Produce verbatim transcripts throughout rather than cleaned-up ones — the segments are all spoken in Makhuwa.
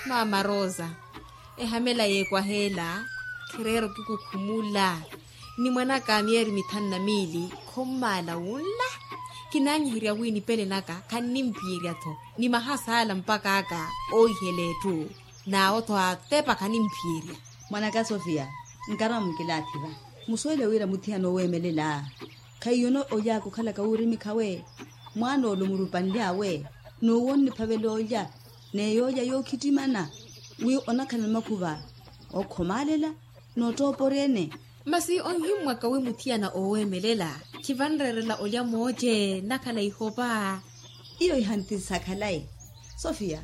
Maama rosa, ehamela yeekwaheela khireera okikukhumula. Ni mwan'aka a miyeeri mithanu na miili khommaala wunla. Kinaanyiherya wi nipele naka khannimpiyerya-tho, ni mahasaala mpak'aka oohihela etthu. N'awo-tho atepa khanimphiyerya. Mwan'aka sofia, nkarwa mukilaathi-va. Musuwele wira muthiyana oweemelela khaiyono oly'aka okhalaka wuurimikha-we. Mwaana ole omurupanly'awe, n'uwo onniphavela olya, n'eyoolya yookhittimana wi onakhala makhuva ookhomaalela, n'ottooporya-ene. Masi onhimmwaka wi muthiyana ooweemelela khivanreerela olya mooce nakhala ihopa. Iyo ihanthisa khalayi. Sofia,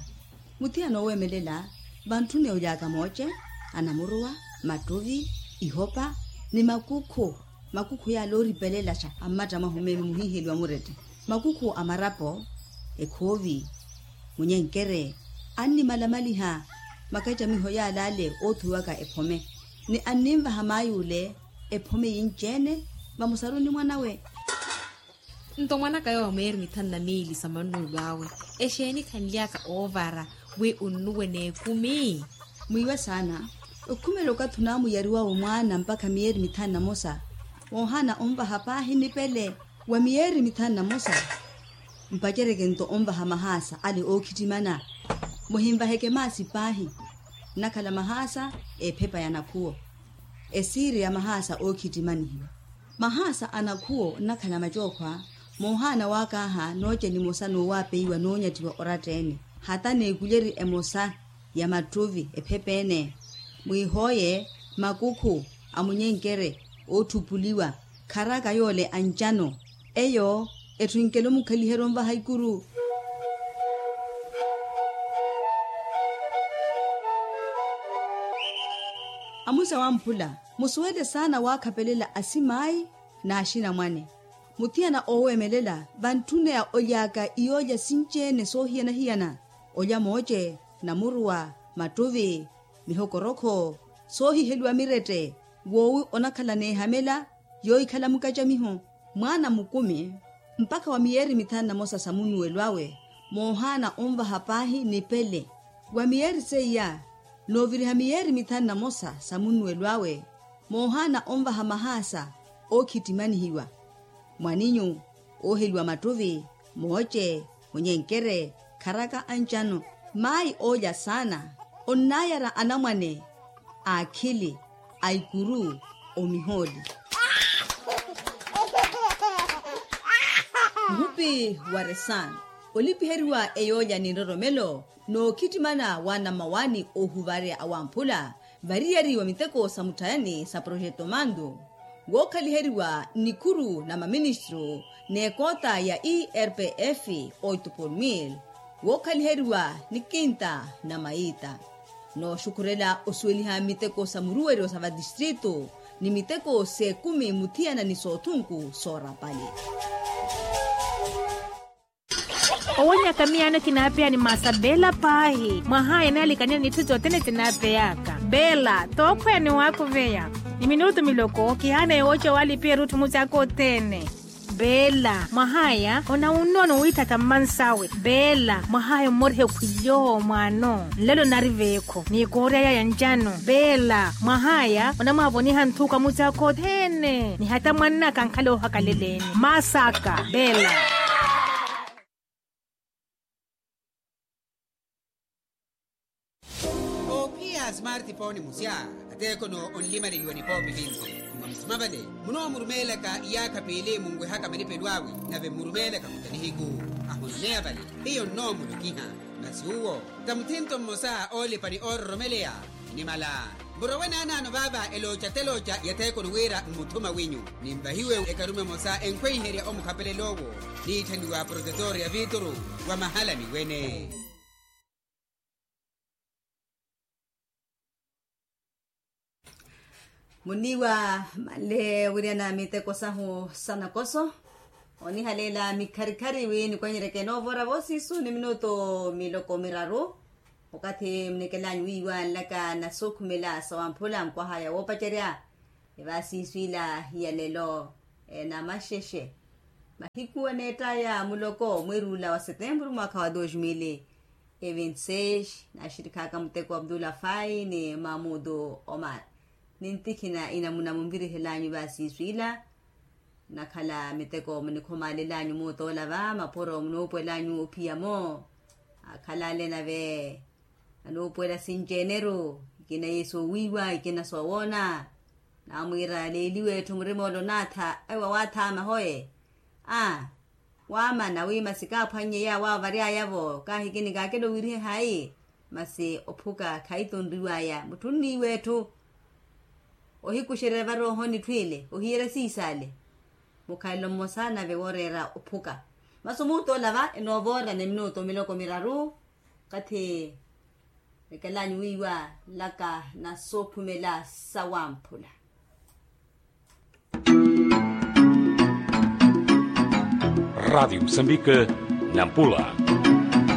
muthiyana ooweemelela vantthuni oly'aka mooce, anamuruwa, mattuvi, ihopa, ni makukhu. Makukhu yaala ooripelelaxa a mmatta mwahu meeme muhiiheliwa murette. Makukhu a marapo, ekhoovi, munyenkere, annimalamaliha makacamiho yaala ale oothuwiwaka ephome, ni anninvaha maay'ule ephome yinci-ene vamusaru ni mwan'awe. Nto mwan'aka yowa mweeri mithanu na miili sa mannuwelo awe, exeeni khanly'aka oovara wi onnuwe n'ekumi? Mwiiwe saana, okhumela okathi onaamuyariwawe mwaana mpakha miyeeri mithanu na mosa, woohaana onvaha paahi nipele. Wa miyeeri mithanu na mosa mpacereke nto onvaha mahaasa ale ookhittimana. Muhinvaheke maasi paahi, nnakhala mahaasa ephepa ya nakhuwo, esiiri ya mahaasa ookhittimanihiwa. Mahaasa a nakhuwo nnakhala macookhwa, moohaana waakaaha nooce nimosa n'uwaapeiwa noonyattiwa oratta-ene, hata n'ekulyeri emosa ya mattuvi ephepa-ene. Mwiihooye, makukhu a munyenkere ootthupuliwa, kharaka yoole ancano, eyo etthu enkela omukhaliherya onvaha ikuru. Amusa wamphula, musuwele saana waakhapelela asimaayi n'axinamwane. Muthiyana ooweemelela vantthuneya oly'aka iyoolya sinci-ene soohiyana-hiyana, olya mooce, namuruwa, mattuvi, mihokorokho, soohiheliwa mirette, woowi onakhala n'ehamela yoohikhala mukacamiho. Mwaana mukumi mpakha wa miyeeri mithanu na mosa sa munnuwelo awe, moohaana onvaha paahi nipele. Wa miyeeri seiya, nooviriha miyeeri mithanu na mosa sa munnuwelo awe, moohaana onvaha mahaasa ookhittimanihiwa, mwaninyu, ooheliwa mattuvi, mooce, munyenkere, kharaka ancano, maayi oolya saana, onnaayara anamwane a akhili, a ikuru, omihooli. Muhupi wa resano, olipiheriwa eyoolya ni nroromelo, nookhittimana wa namawaani oohuvarya awamphula, variyari wa miteko sa mutthayani sa projeto mandu, wookhaliheriwa nnikhuru na maministru n'ekoota ya erpf, oito por mil, wookhaliheriwa ni kinta na maita, nooxukhurela osuweliha miteko sa muruweryo sa vatistritu ni miteko s'ekumi muthiyana ni soothunku soorapali. Owonyaka miyaano kinaapeya ni maasa beela paahi mwahaya naalikaniya n'itthu sothene sinaapeyaka. Beela tookhweya ni waakuveya ni minutu miloko kihaana yooca walipiya erutthu musi aka othene. Beela mwahaya onawunnono wiithatha mmansawe. Beela mwahaya ommoriha ekhwilyo mwaano nlelo nari veekho ni koorya yaya ncano. Beela mwahaya onamwaavoniha nthuka musi aka othene ni hata mwannaka ankhala oohakaleleni maasa aka. Beela. Oophiya a smartphone musya ateekhono onlimaleliwa nipoopi vinci. Mwa musima vale munoomurumeelaka iyaakha piili munwehaka malipelo awe nave mmurumeelaka muta nihiku ahononeya vale. Hiyo nnoomulokiha masi uwo ta muthinto mmosa oolipa ni oororomeleya. Nimala murowe naanaano vaava elooca telooca ya theekono wira mmuthuma winyu ninvahiwe ekarume emosa enkhweiherya omukhapelela owo niitthaniwa protetor ya vituru wa mahala ni wene. Muniiwa manle wiriana miteko sahu sa nakoso onihaleela mikharikhari wi nikwenyereke noovora voosiisu ni minutu miloko miraru. Okathi munekelanyu wiiwa nlaka na sookhumela sa wamphula nkwahaya woopacerya evaasiisu ila ya lelo. Enamaxexe mahiku aneettaya muloko mwiirula wa setempuru mwaakha wa dos mili. Evinseis naaxirikhaka muteko wa abdulafai ni mamudu omar. Nintikhina inamuna munvirihelanyu vasiiswiila nakhala miteko munikhomaalelanyu muutoola va mapuro munuupuwelanyu ophiya-mo. Akhalale nave anuupuwela sinci-eneru ikina yesu owiiwa ikina soowoona. Naamwiira leeliwe etthu murima ole onaatha ewa waathaama hoe. A waamana wi masi kaaphwannye yaawo awo vary'aya-vo kaahikini kaakela owirihe hayi. Masi ophuka khayitonriw'aya mutthu onniiwa etthu. Ohikuxererya varoohoni etthu ile ohiyerya siisale mukhalelo mmosa nave wooreera ophuka. Masi omuuttoola va enoovoora ni minuutu miloko miraru. Okathi ekelanyu wiiwa laka na soophumela sawamphula. Radiyo musambike nampula.